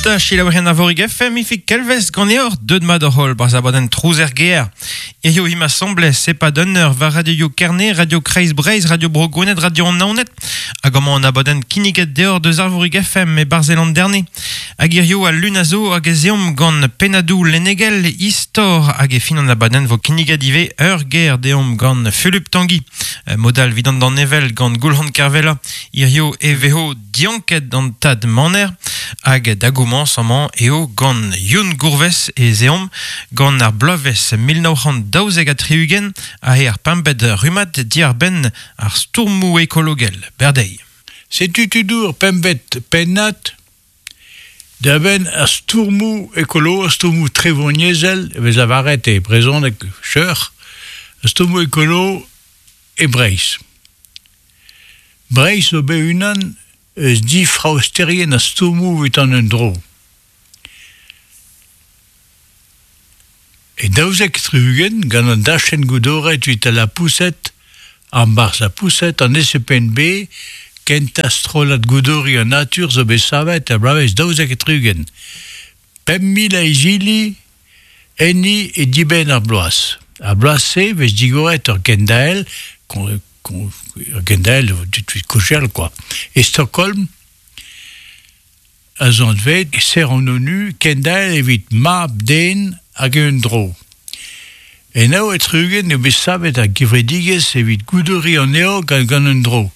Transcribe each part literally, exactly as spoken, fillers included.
Ta chilaouerien Arvorig F M, ifik kelvez ganeor, deud mat hor holl, barz abadenn trouz er gear. Hirio him asamblez, se pa d'un eur, war Radio Kerne, Radio Kreiz Breizh, Radio Bro Gwened, Radio Naoned, hag amañ an abadenn kinniget deor deus Arvorig F M e Barzeland derne. Hag hirio al lun a zo hag ez eomp gant pennadou lennegel, istor hag e fin an abadenn vo kinniget ivez ur ger deomp gant Fulup Tanguy. Modal vidant d'an evel gant Goulc'han Kervella, hirio e vezo dianket an tad maner, hag da gomañs amañ eo gant Youn Gourves e zeomp gant ar bloavezh mil nav c'hant daouzek ha tri-ugent a eo ar pempet rummad diarbenn ar stourmoù ekologel. Berdei. Setu tudour pempet pennad da benn ar stourmoù ekolo, ar stourmoù trevoniezhel, e vez avaret e brezhoneg cheur, ar stourmoù ekolo e Breizh. Breizh zo bet unan eus difraosterien ar stourmoù evit an un dro. E daouzek tri-ugent gant an dachenn goudoret evit al lapoused, an barzh lapoused, an S P N B, kentañ strollad goudori an natur zo bet savet er bloavezh daouzek tri-ugent. Pemp mil a izili enni e dibenn ar bloaz. Ar bloaz-se vez digoret ur gendael, kon, kon, ur gendael dit kochel quoi. E Stockholm, a zo anvet, ser an ONU, kendael evit mab den hag un dro. E nao e tri-ugent eo bet savet ar gevredigezh evit goudori an eo gant gant un dro.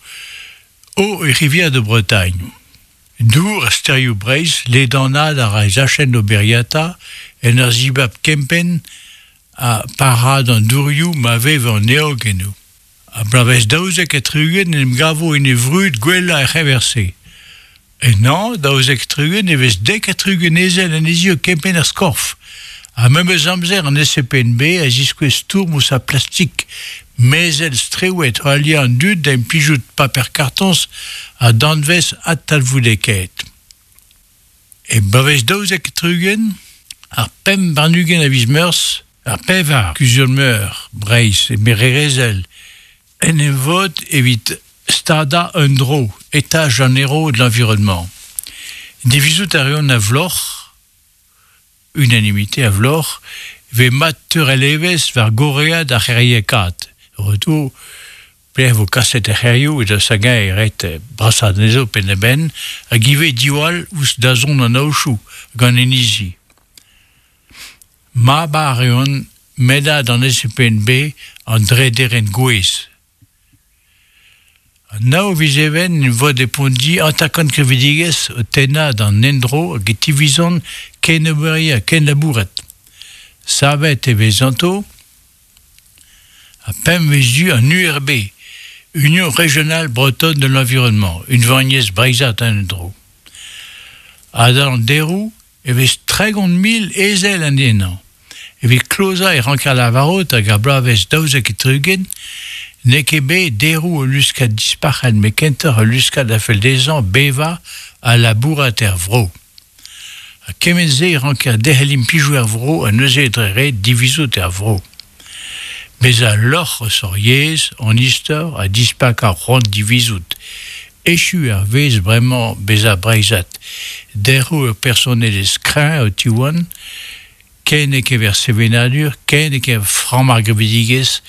O e rivière de Bretagne. Dour a sterioù Breizh, ledanad ar a zachenn oberiata, en ur zibab kempenn a parad an dourioù ma vev an eo genou. A bloavezh daouzek e tri-ugent en em gavo en e vrud gwellañ er c'heñver-se. E nan, daouzek tri-ugent e vez dek ha tri-ugent ezel en ezio kempenn ar skorf. Ha memes amzer an S P N B a ziskouez stourm ouzh ar plastik, mezel strewet o aliañ an dud da implijout paper kartoñs ha danvez adtalvoudekaet. E bloavezh daouzek tri-ugent, ar pemp warn-ugent a viz Meurzh, ar pevar kuzul-meur Breizh e Mererezel en em vod evit stadañ un dro, état généraux de l'environnement. Divizout a reont a vloc'h, unanimité a vloc'h, ve mat teurel evezh war goread ar c'heriekaat. Retour, pler vo kaset ar c'herioù e da sagañ e ret brasad anezho penn-da-benn, hag ivez diwall ouzh dazont an aochoù gant inizi. Mab a reont medad an S P N B an drederenn gouez. An nav viz Even en vod e Pondi atakant krevidigezh o tennañ d'an endro hag e tivizont ken oberia ken labouret. Savet e vez anto a pemp vez du an U R B, Union Régionale Bretonne de l'Environnement, une vanniez breizhat an endro. Ha d'an deroù e vez tregont mil ezel an ennañ. Evit klozañ e rank ar lavarot hag ar bloavezh daouzek e tri-ugent, n'eo ket bet deroù ul luskad dispac'het met kentoc'h ul luskad a fell dezhañ bevañ ha labourat er vro. Ha kement-se e ranker derc'hel implijoù er vro ha neuze dre ret divizout er vro. Bezañ lorc'h eus hor yezh, an istor ha dispak ar c'hoant divizout. Echu ar wezh bremañ bezañ breizhat. Deroù ur personelezh kreñv o tiwan, ken e kever sevenadur, ken e kever framm ar gevredigezh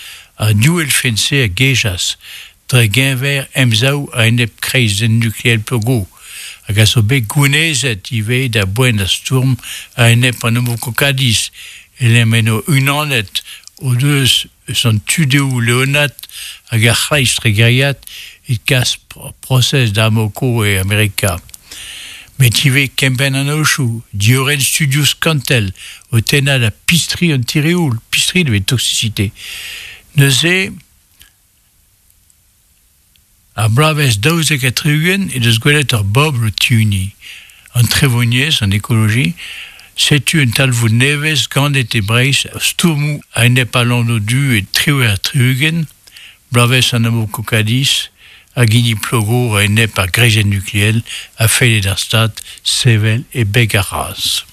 ha div elfenn-se a gejas, dre geñver emsav a-enep kreizenn nukleel Plogo, hag a zo bet gounezet ivez da boent ar stourm a-enep an homokokadiz, e eno unanet o deus eus an tudeoù Leonat hag ar c'hreiz tregeriat e kas prosez da Amoco e Amerika. Met ivez kempenn an aochoù, diorren studioù skantel, o tennañ da pistri an tireoul, pistri de toxicité. Neuze, ar bloavezh daouzek ha tri-ugent e deus gwelet ur bobl o tiuni. An trevoniezh, an ekoloji, setu un talvoud nevez ganet e Breizh stourmoù a-enep al lanv du e triwec'h ha tri-ugent, bloavezh an Amokokadiz, hag hini Plogo a-enep ar greizenn nukleel a felle d'ar Stad sevel e beg ar raz.